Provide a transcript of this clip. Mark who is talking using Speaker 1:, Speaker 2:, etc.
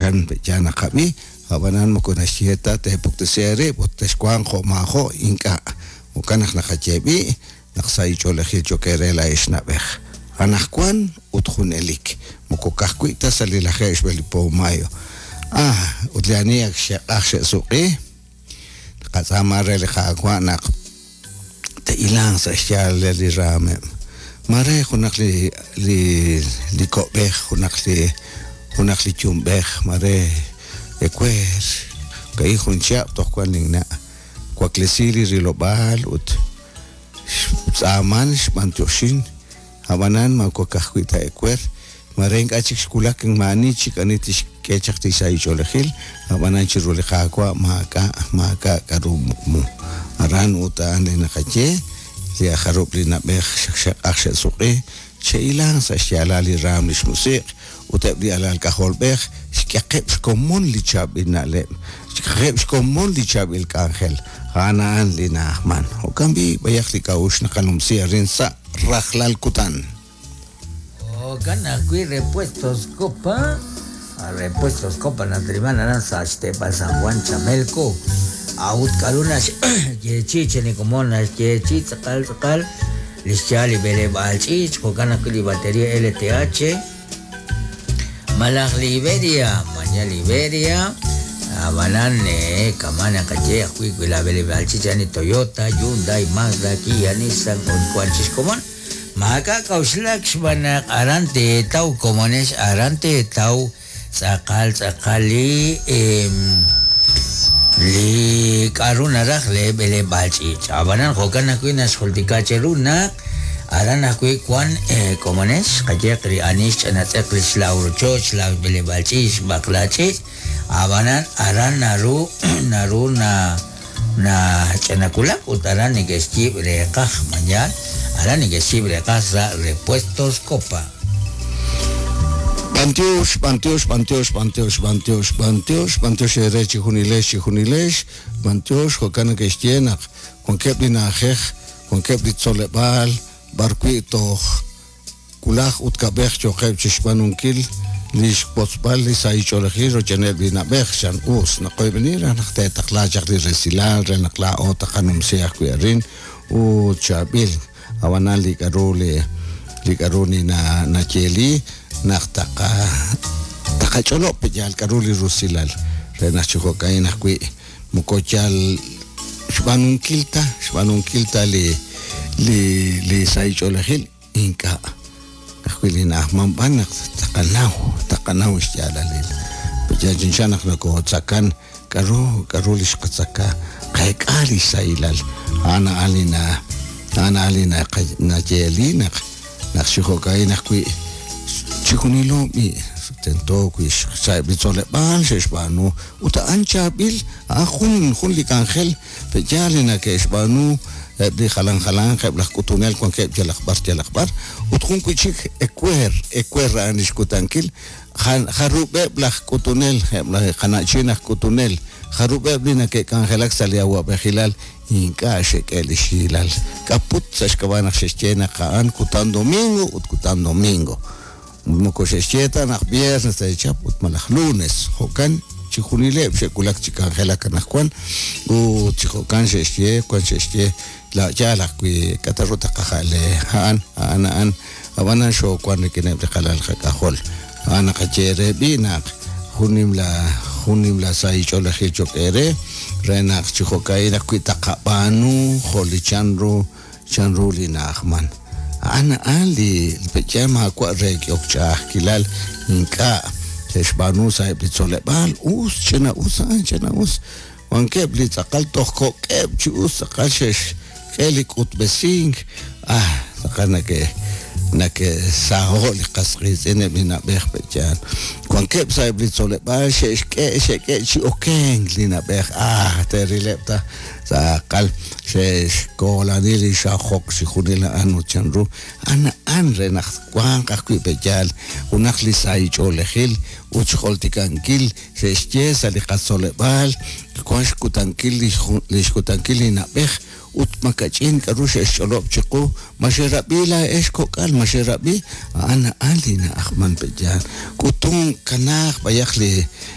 Speaker 1: Jo'kan pe'yaal naqab'i, ab'anan moko naxye ta teepuktesi eerib' ut texwanq jo' maajo', ink'a'. Jo'kan naq naqaye b'i' naq sahil ch'oolejil cho'q eere laa'ex na'b'ej. Anaqwan ut junelik, moko ka'ajwi' ta sa' li lajeeb' xb'e li po mayo. Ah, ut li ani ak xe'q'aj xe'suq'i, naqatz'aama re li Qaawa' naq te'ilanq sa' xyaalal li raameb'. Maare junaq li li li ko'b'ej, junaq li junaq li yumb'ej, maare ewer, ka'in jun chihab' toj wan linna'. Waklesi li rilob'aal ut xtz'aaman xb'antioxin, ab'anan moko ka'ajwi' ta ewer, maare ink'a' chik xwulak maa'ani chik ani tixk'e chaq li sahil ch'oolejil, ab'anan chiru li Qaawa' maak'a' maak'a' k'aru muqmu. Aran ut a'an li naqaye, li ajarub' li na'b'ej xe'q'aj xe'suq'i, che'ilanq sa' xyaalal li raam li xmusiq' ut eb' li alal k'ajolb'ej xk'eqeb' xkomon li chaab'il na'leb', xk'eqeb' xkomon li chaab'il k'anjel, a'an a'an li na'ajman. Jo'kan b'i' b'ayaq li k'a'uxl naqanumsi arin sa' rajlal kutan.
Speaker 2: Jo'kan ajwi' Repuestos Copa, Repuestos Copa nataliman aran sa' xteepal San Juan Chamelco. A'ut k'aru naxyeechi'i chi li komon naxyeechi'i tz'aqal tz'aqal li xyaal li b'eleb'aal ch'iich', jo'kan ajwi' li batería LTH malaj li Iberia, mañal Iberia, ab'anan kama' naqaye ajwi' wi la b'eleb'aal ch'iich' a'an li Toyota, Hyundai, Mazda, Kia, Nissan ut wan chi xkomon. Maak'a' k'a'uxlak xb'aan naq aran teetaw komonex aran teetaw tz'aqal tz'aqal li li k'a'ru naraj lee b'eleb'aal ch'iich'. Ab'anan jo'kan ajwi' naxjultika cheru naq aran ajwi' wan komonex qayeq li ani xch'anatz'eq li xlaaw rochoch, xlaaw b'eleb'aal ch'iich', xb'aqla ch'iich', ab'anan aran naru naru na Nach'anawulak ut aran neke'xyiib' reeqaj, ma yaal? Aran neke'xyiib' reeqaj sa' Repuestos Copa.
Speaker 1: B'antiox, b'antiox, b'antiox, b'antiox, b'antiox, b'antiox, b'antiox eere chejunilex, chejunilex, b'antiox, jo'kan neke'xye naq wankeb' li na'ajej, wankeb' li tzoleb'aal b'ar wi' toj Wulaj ut kab'ej yooqeb' chixb'aanunkil li xwotzb'al li sahil ch'oolejil rochb'eeneb' li na'b'ej, chan us. Naqoyb'eni raj naq teetaqla chaq li resilal re naq laa'o taqanumsi ajwi' arin ut chaab'il. A'b'anan li k'a'ru li li k'a'ru li na nayeeli naq taqa taqach'olob' pe' yaal k'a'ru li rusilal re naq chi jo'ka'in ajwi' moko yal xb'aanunkil ta xb'aanunkil ta li li li sahil ch'oolejil. Ink'a'. Ka'ajwi' li na'ajman b'an naq taqanaw, taqanaw xyaalalil. Yal chanchan naq nokotzakan, k'a'ru, k'a'ru li xqatzaka, qeek'a lix sahilal. A'an a'an li na, a'an a'an li nayeeli naq, naq chi jo'ka'in ajwi' chijunilo b'i' tento wi' sa'eb' li tzoleb'aal xe'xb'aanu ut a'an chaab'il, a'an jun, jun li k'anjel. Pe'yaal li nake'xb'aanu eb' li jalan jalanq eb' laj k'utunel wankeb' yalaq b'ar yalaq b'ar? Ut jun wi' chik ewer, ewer a'an li xkutankil, jarub'eb' laj k'utunel, eb' laj qana'chin aj k'utunel, jarub'eb' li nake'k'anjelak sa' li awa'b'ejilal ink'a' xe'k'e li xhiilal. K'a put sa' xk'ab'a' naq xe'xye naq a'an kutan domingo ut kutan domingo. Moko xe'xye ta naq viernes te'chap ut malaj lunes, jo'kan chijunileb' xe'wulak chi k'anjelak anaqwan ut chi jo'kan xe'xye, wan xe'xye la yaal ajwi' k'a' ta ru taqaja'le a'an, a'an a'an, ab'anan xoowan rik'ineb' li qalal qak'ajol. A'an naqaye eere b'i' naq jun nimla jun nimla sahil ch'oolejil cho'q eere re naq chi jo'ka'in ajwi' taqab'aanu jo' li chanru Chanru li na'ajman. A'an a'an li pe'yaal maawa' re k'ehok ch'a'ajkilal ink'a' xe'xb'aanu sa'eb' li tzoleb'aal, us, ch'ina-us a'an, ch'ina-us. Wankeb' li tz'aqal toj kok'eb' chi us tz'aqal xe'xk'e li k'utb'esink, ah, tz'aqal nake' nake'saho' li qas qiitz'in eb' li na'b'ej pe'yaal. Wankeb' sa'eb' li tzoleb'aal xe'xk'e xe'k'e chi okenk li na'b'ej, ah, te'rileb' ta Tz'aqal xe'xkoolani li xajok chixjunil a'an ut chanru a'an a'an re naq twanq ajwi' pe'yaal junaq li sahil ch'oolejil ut xjoltikankil xe'xye sa' li qatzoleb'aal wank xkutankil li xkutankil li na'b'ej ut makach'in k'aru xe'xch'olob' chiqu ma xerab'i laa'ex kok'al ma xerab'i a'an a'an li na'ajman pe'yaal k'utunk kanaaq b'ayaq li.